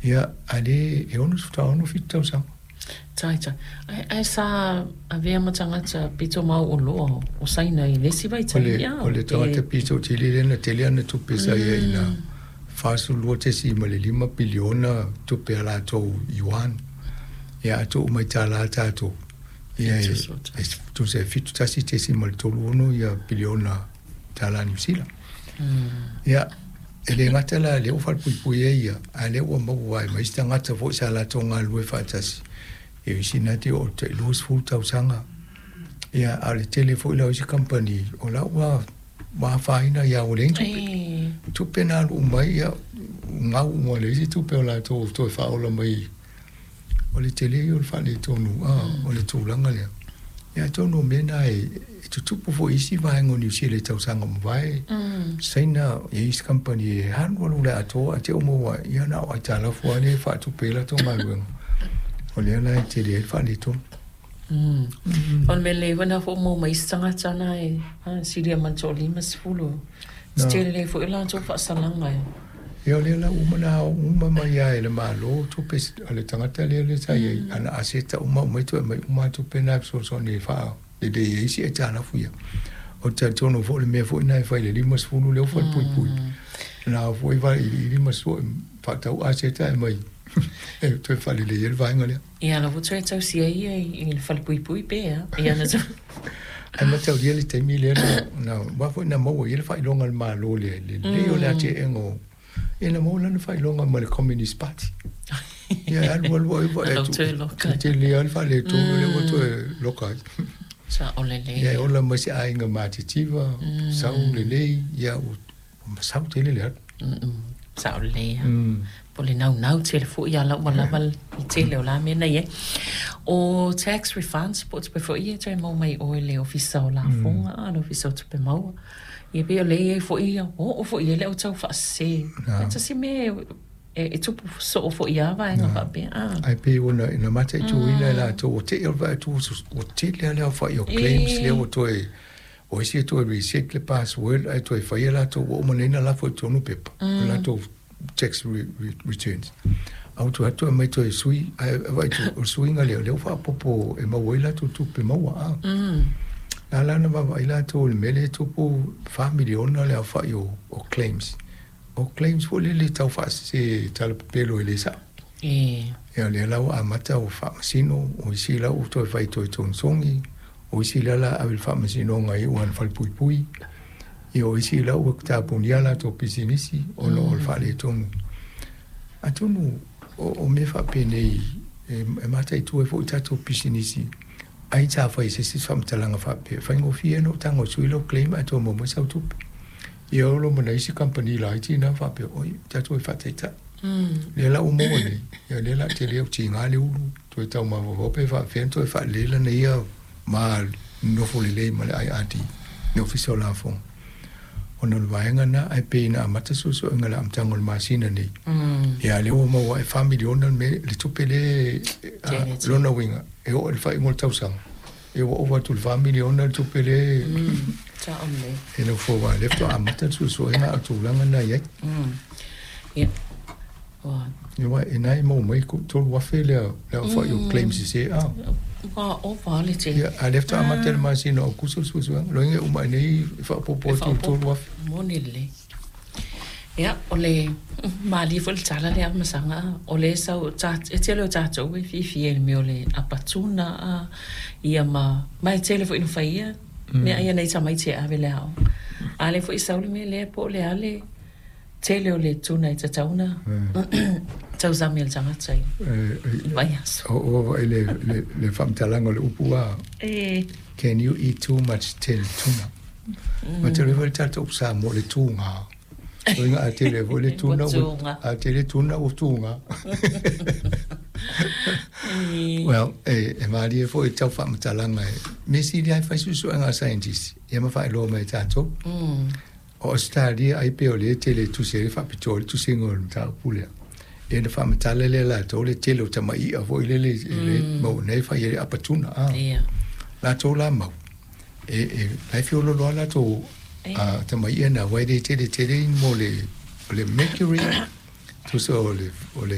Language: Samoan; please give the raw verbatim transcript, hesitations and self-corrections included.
Ia, a lē e ono faatoa ono fitu tausaga. Tai tai. Ae, ae sa avea ma tagata pito mauoloa o Saina i le isi vaitaimi a? O le tagata pito tele lea na tele ana tupe sa i ai ina fasefulu lua tesima le lima piliona tupe a latou yuan. Ia, a tuu mai tālā tatou, ia e, e tusa e fitu tasi tesima le tolu ono ia piliona tālā Niu Sila. Ia, e le gata la lea ua falepuipui ai ia, a o lea ua maua ai ma isi tagata foi sa latou galulue faatasi, e isi na te oo i le tailua sefulu tausaga. Ia, a o le tele foi la o isi kamupani, o la ua ua afaina ia ua leai ni tupe. Tupe na alu uma ai, ia, gau uma le isi tupe o latou toe faaola mai. O le tele ia o le faaletonu, a, o le tulaga lea. Ia atonu o mea na e, e tutupu foi i isi vaega o Niu Sila i tausaga ua mavae. Saina, e i ai isi kamupani e alualu le atoa ae te i ua maua ai, ia na o aitalafu lava lea e faatupe ai latou galuega. O lea la e tele ai le faaletonu. O le mea lelei foi lena foi ua maua mai isi tagata na e silia ma le toalima sefulu. Tele foi o latou faasalaga e. Ia o lea la ua uma ona ao uma mai lava e le Malo tupe a le tagata lea lea sa i ai, ana aseta uma aumai toe aumai uma lava tupe na e fesoasoani e faalelei ai isi aitalafu ia. Ou te talitonu foi o le mea foi lena e fai i le lima sefulu lea ua falepuipui, na ao foi vailiili ma sue faatau aseta e aumai e toe faalelei ai le vaega lea. Ia la ua toe tausia ai ia i le falepuipui pe a? Ia na Ae mataulia le taimi lea na, na aua foi na maua i ai le faailoga a le Malo le lelei o le atie'ega o, ia na maua lana faailoga ma le Communist Party. Ia e alu alu ai vaai atu, e tele lava le faaletonu lea ua toe loka ai. Sao lelei. Ia e ola mai se aiga matitiva, sau lelei, ia ua masau tele le alu. Sao lelei lava. Po o le naunau tele foi a la ua lava le tele o la mea na i ai. O tax refunds po o tupe foi ia e toe maua mai i o i le Ofisa o Lafoga a le Ofisa o Tupe Maua. Ia pei o lea e i ai foi ia, ua oo foi i ai le au tau faasese. E tasi mea e, e tupu soo foi ia vaega faapea. A. Ae pei ua na, na mataituina e latou ua te'i o le vaai atu ua tele lava le aofa'i o claims lea ua toe, o isi e toe reset le password ae toe faia latou ua uma nei ona lafo i totonu pepa o latou tax re, re, returns. A ua toe atu aumai toe sui, ae vaai atu o le suiga lea, lea ua faaopoopo e maua ai latou tupe maua a. Na ala ona vaavaai latou i le mea lea e tupu fa miliona le aofa'i o, o claims. O claims foi lele tau faasese talapepelo e le sa'o. E. Ia lea la ua amata ua faamasino, o isi la ua toe fai toe togisogi, o isi la la ave i le faamasinoga i iu ana falepuipui, ia o isi la ua tapunia latou pisinisi ona o le faaletonu. Atonu o, o mea faapenei e, e mataitu ai foi tatou pisinisi, ai sa fai i se isi faamatalaga faapea, e faigofie ona ou tago e sui lau claim ae toe maua mai sau tupe. Ia o lo ma nai isi kamupani laiti na faapea, oi, tatou e faataitai. Lea la ua maua nei, ia lea la tele au tiga le ulu, toe tau mafaufau pe faapefea ona toe faalelei lana ia ma nofo lelei ma le I R D, le Ofisa o Lafoga. Ona o le vaega lena, ae pei na amata suesuega i le amataga o le masina nei. Ia lea ua maua ai fa miliona le mea, le tupe lea, lona uiga, e oo i le faaiuga o le tausaga, ia ua ova atu i le fa miliona le tupe lea e nofo aua lea faatoa amata le suesuega a o le tulaga lena e i ai. Ia. Ua. Ia e na e maua mai tolu afe le le aofa'i o claims sese a. Ua ova le tele. Ia, a lea faatoa amata i le masina o Aokuso le suesuega. Loiga e uma ai nei e faaopoopo atu i le tolu afe. Moni lelei. Ia, o le malie foi le tala lea Masaga, o le sau ta, e tele o tatou e fiafia i le mea o le apatuna a, ia ma, ma e tele foi ina faia mea ia nei tamaiti e ave i le aoga. A lea foi sau le mea lea po o le a le tele o le tuna e tatau ona tausami e le tagata i le vaiaso. O o le le le faamatalaga o le upu a. E. Can you eat too much tinned tuna? Ma te le tatou upu Samoa le tuga. Loiga a tele foi le tuna ua, a tele tuna ua tuga. Well, e, e malie foi tau faamatalaga e mea sili lava e fai suesuega a scientist ia ma faailoa mai e tatou. O Ausetalia ai pei o lea e tele e tusi ai le faapitoa i le tusiga o le mataupu lea. Ia ona faamatala lea e latou le tele o tamai'a foi lele e le maua nei e fai ai le apatuna a. Latou la mau, e, e, la e feoloolo lava latou a tamai'a na aua e le tele tele ni mo le, o le mercury tusa o le, o le